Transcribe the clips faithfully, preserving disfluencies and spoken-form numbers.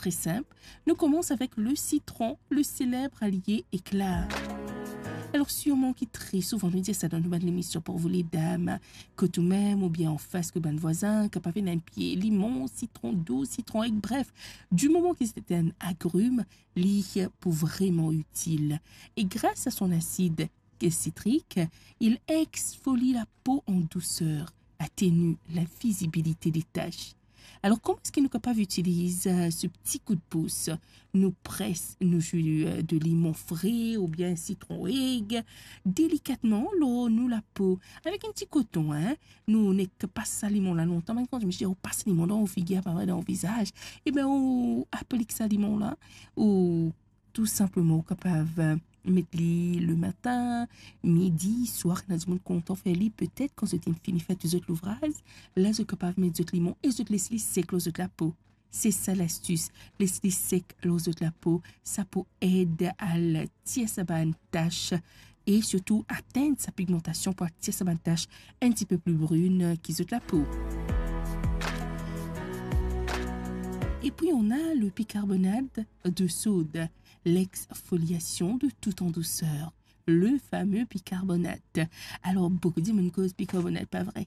tre sinp. Nou koumans avek le sitron, le seleb alie ekla. Alor, sirman ki tre souvan nou dir sa dan nou bann lemision pou vou ledam, kot oumem oubien anfas kot bann vwazin, kapav ena enn pie limon, sitron dous, sitron ek, bref, di moman ki se enn agrim, li pou vreman itil. E gras a son asid sitrik, il exfolie la peau en douceur, atténue la visibilité des taches. Alor, kouma eski nou kapav itiliz, eh, se pti koudpous? Nou pres nou zi, eh, de limon fre oubien sitron eg delikatman lor nou lapo avek enn ti koton, hein. Nou nek pas sa limon la lontan, me kan mo dir ou pas limon dan ou figir, pa vre, dan ou vizaz, e ben, ou aplik sa limon la, ou tou sinpleman, ou kapav, eh, met li lematin, midi, swar, ena dimoun kontan fer li, petet kan zot inn fini fer tou zot louvraz, la zot kapav met zot limon e zot les li sek lor zot lapo. Se sa lastis, les li sek lor zot lapo, sa pou ed al tir sa bann tas e sirtou atenn sa pigmantasion, pou al tir sa bann tas enn tipe pli brin ki zot lapo. Et puis on a le bicarbonate de soude, l'exfoliation de tout en douceur, le fameux bicarbonate. Alor, boukou dimoun koz bicarbonate, pa vre?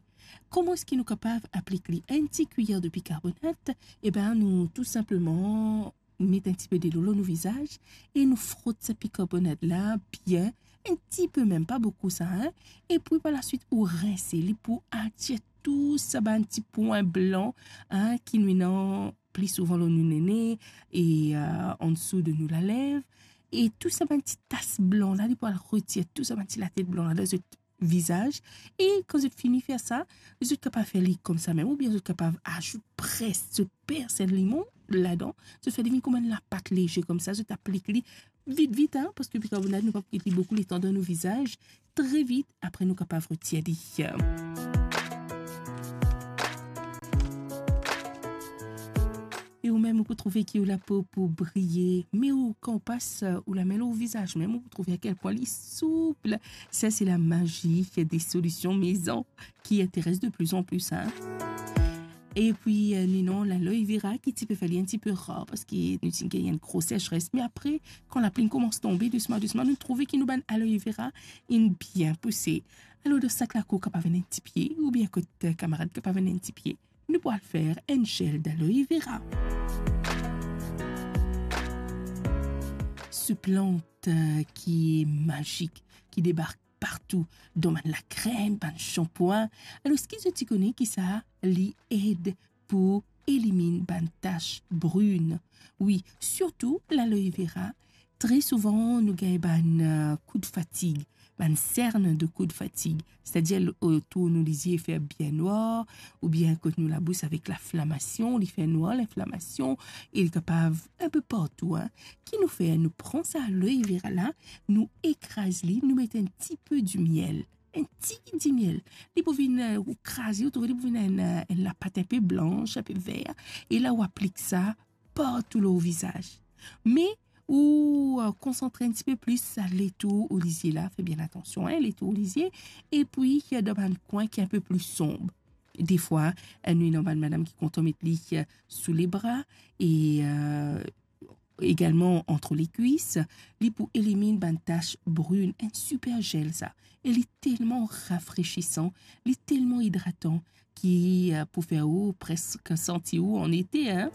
Kouma eski nou kapav aplik li? Enn ti kwiyer de bicarbonate, e ben, nou tou sinpleman met enn tipe delo lor nou vizaz e nou frot sa bicarbonate la bien, enn tipe mem, pa boukou sa, hein. E puis par la suite, ou rinse li pou atir tou sa bann ti pwin blan, hein, ki nou ena pli souvan lor nou nene e, eh, ansou de nou lalev. E tou sa bann ti tas blan la, li pou al retir tou sa bann ti latet blan la dan zot vizaz. E kan zot fini fer sa, zot kapav fer li koumsa mem, oubien zot kapav azout pres, zot pers enn limon ladan, zot fer li vinn kouma enn lapat leze koumsa, zot aplik li vit, vit, hein, parski bikarbonat, nou pa pou get li boukou letan dan nou vizaz. Tre vit, apre nou kapav retir li. E ou mem, ou pou trouve ki ou lapo pou briye, me ou, kan ou pas, eh, ou lame lor ou vizaz mem, ou pou trouve a kel pwin li soup. Sa, se la mazi des solutions maison qui intéresse de plus en plus, hein. E puis, eh, nou ena laloe vera ki ti pe fer li enn tipe rar, parski nou ti gagn enn gro secheres. Me apre, kan lapli koumans tonbe dousman, dousman, nou trouve ki nou bann aloe vera inn bien pouse. Alor, dan sak lakour, kapav ena enn ti pie, oubien kot, eh, kamarad, kapav ena enn ti pie, nou pou al fer enn zel d'aloe vera. Se plant, eh, ki mazik, ki debark partou, dan bann lakrem, bann sanpwin. Alor, eski zot ti kone ki sa li ed pou eliminn bann tas brin? Wi, sirtou laloe vera. Tre souvan, nou gagn bann, eh, kou de fatig, bann sern de kou de fatig, setadir otour nou lizie fer bien nwar, oubien kot nou labous avek linflamasion, li fer nwar, linflamasion, e li kapav enpe partou, hein. Ki nou fer? Nou pran sa aloe vera la, nou ekraz li, nou met enn tipe dimiel, enn tigit dimiel. Li pou vinn, eh, ou kraze, ou trouve li pou vinn enn, eh, enn lapat enpe blans, enpe ver, e la ou aplik sa partou lor ou vizaz. Me ou, eh, konsantre enn tipe plis letour ou lizie la, fer bien atansion, hein, letour ou lizie, e puis, eh, dan bann kwin ki enpe pli sonb. Defwa, eh, nou ena bann madam ki kontan met li, eh, sou lebra e, eh, egalman ant lekwis, li pou eliminn bann tas brin, enn siper zel sa. E li telman rafresisan, li telman idratan ki, eh, pou fer ou preske santi ou an ete, hein.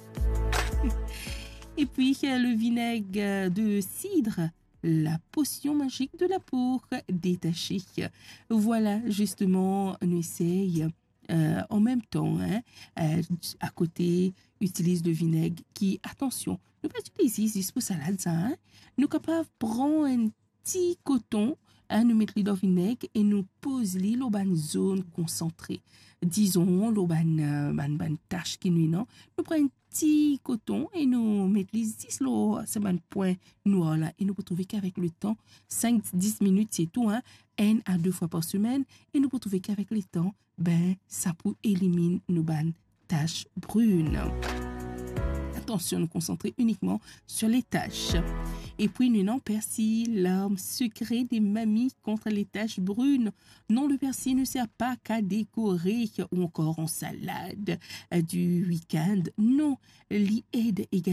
E puis, eh, le vineg, eh, de sid, la posion mazik de la peau détachée. Vwala, zisteman, nou esey, eh, an mem tan, hein, eh, akote, itiliz de vineg ki, atansion, nou pa itiliz li zis pou salad sa, hein. Nou kapav pran enn ti koton, hein, nou met li dan vineg e nou poz li lor bann zone konsantre. Dizon, lor bann, eh, bann, bann tas ki nou ena, nou pran enn ti koton e nou met li zis lor sa bann pwin nwar la. E nou pou trouve ki avek letan, sink dis minit, se tou, hein, enn a de fwa par semenn, e nou pou trouve ki avek letan, ben, sa pou eliminn nou bann tas brin. Atansion, nou konsantre inikman sur les taches. E puis, nou ena persil, l'arme secrète des mamies contre les taches brunes. Non, le persil ne sert pas qu'à décorer ou encore en salade, euh, du week-end. Non, li ed egalman